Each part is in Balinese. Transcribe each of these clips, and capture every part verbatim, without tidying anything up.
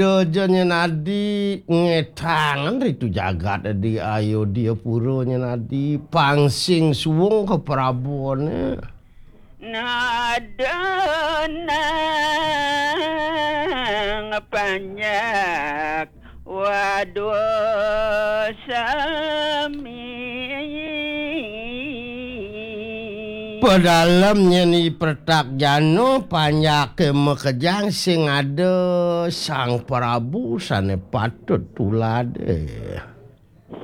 Dojo nyén adi ngétangan ritu jagat di Ayodya pura nyén adi pang sing suwung ka Prabune. Nada nang panjak wadwa sami. Padalem nyén i pertak jana panjaké makejang sing ada Sang Prabu sané patut tuladé.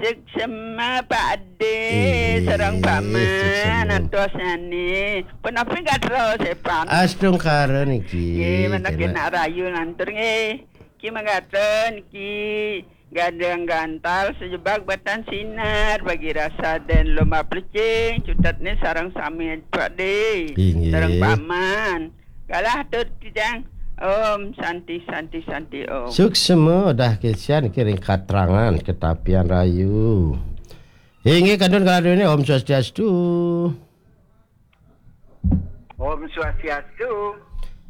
Suksma Pak Dé, inggih, sareng Paman, suksma. Antosnyané. Punapi gatra sepan. Astungkara niki. Nggih, menawi nak rahayu lantur nggih. Ki manggaten ki gadang gantal sejebak batan sinar bagi rasa den lomba plecing cutetné sareng sami Pak Dé. Inggih. Sareng Paman. Galah tut kijang. Om Santi Santi Santi Om. Suksma dah kesian kiring katrangan ketapian rayu. Inggih kantun kaladuné Om Swastiastu. Om Swastiastu.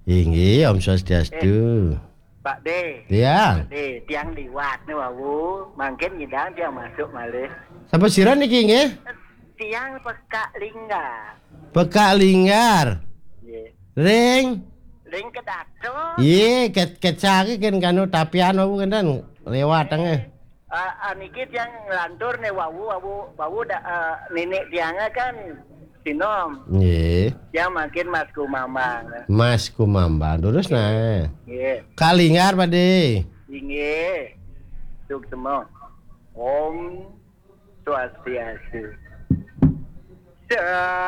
Inggih, Om Swastiastu. Eh, Pak Dé. Ya. Pak Dé, tiang liwat né wau, mangkin nyidang tiang masuk malih. Sapa sira niki nggih? Tiang Pekak Linggar. Pekak Linggar. Nggih. Ring? Ring Kedaton. Yé, ket kecake kan kanu tapian wau kan lewat tengah. Ah, ah, niki tiang nglantur né wau, wau, wau da, ah, nenek tiangé kan sinom. Nggih. Tiang mangkin Mas Kumambang. Mas Kumambang, terus nah. Nggih. Kalinggar, Pak Dé. Inggih. Suksma. Om Swastiastu. Sa-